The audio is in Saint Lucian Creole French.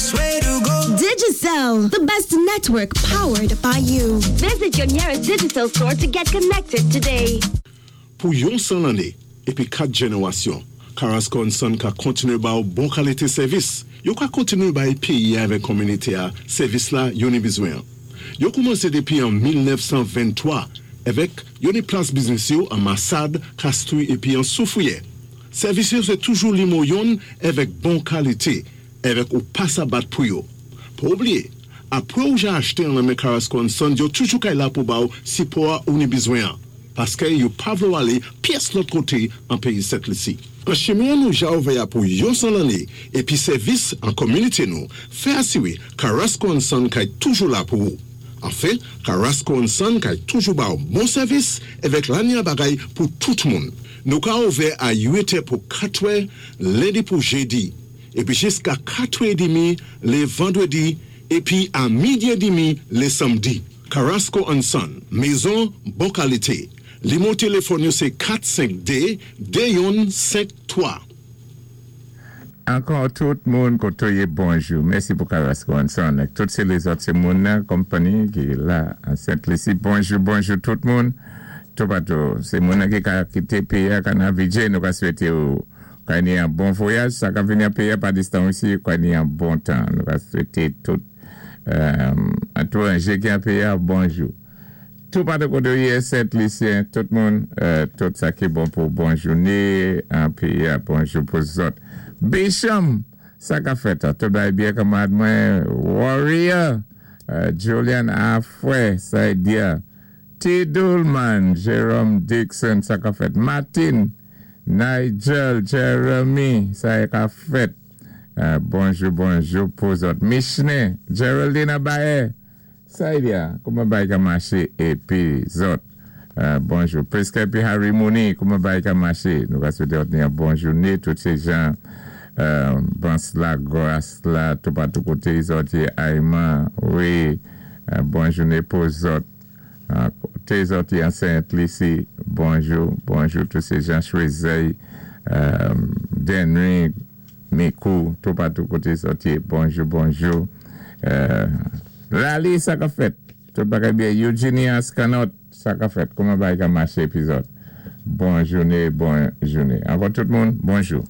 best way to go. Digicel, the best network powered by you. Visit your nearest Digicel store to get connected today. Pou yon 100 lanné épi 4 jénéwasyon, Carrasco and Son ka kontinué ba ou bon kalité sèvis. Yo ka kontinué bay péyi avèk kominité-a sèvis la yo ni bizwen. Yo koumansé dépi an 1923 avèk yo ni plas biznis yo an Massade, Castries épi an Soufrière. Sèvis yo sé toujou limo yonn avèk bon kalité avèk ou pa sa bat pou yo. Pa oubliyé, apwé ou ja achté an nan men Carrasco and Son, yo toujou kay la pou ba ou sipò ou ni bizwen an. Paskè yo pa vlé ou alé pyès lòt koté an péyi Sent Lisi. An chimen nou ja ouvè a pou yon 100 lanné épi sèvis an kominité nou fè asiwé Carrasco and Son kay toujou la pou ou. Anfen, Carrasco and Son kay toujou ba ou bon sèvis avèk lanya bagay pou tout moun. Nou ka ouvè a 8 è pou 4 è lendi pou jédi épi jiska 4 è dimi lé vandwédi épi a midi é dimi lé sanmdi. Carrasco and Son, mézon bon kalité. Limo téléfòn yo sé 452 2153. Ankò tout moun koto yé, bonjou. Mèsi pou Carrasco and Son ak tout sé lézòt sé moun nan konpanni ki la an Sent Lisi. Bonjou, bonjou tout moun toupatou. Sé moun nan ki ka kité péyi-a ka nan Vijay, nou ka swété ou ka ni an bon voyaj. Sa ka vini an péyi-a pa distan osi, ka ni an bon tan. Nou ka swété tout étwanjé ki an péyi-a bonjou. Toupatou koté ou yé Sent Lisyen, tout moun, tout sa ki bon pou bon jouné an péyi-a, bonjou pou zòt. Bisham, sa ka fèt an? Tout bagay byen kanmarad mwen? Warrior, Julian Afwè, sa y di-a? T. Dulman, Jerome Dixon, sa ka fèt? Martin, Nigel, Jeremy, sa y ka fèt? Bonjou, bonjou pou zòt. Michené, Geraldine Abaye, sa y di-a? Kouman bagay ka maché épi zòt? Bonjou. Priska épi Harry Mooney, kouman bagay ka maché? Nou ka swété òt ni an bon jouné. Tout sé jan Bans la, Gras la, toupatou koté zòt yé Ayman, wi, bon jouné pou zòt. Koté zòt yé an Sent Lisi, bonjou, bonjou tout sé jan Chwezèy, Denry, Mikou, toupatou koté zòt yé, bonjou, bonjou. Lali, sa k-ap fèt? Tout bagay byen? Eugenia Scanot, sa k-ap fèt? Kouman bagay ka maché épi zòt? Bon jouné, bon jouné. Ankò tout moun, bonjou.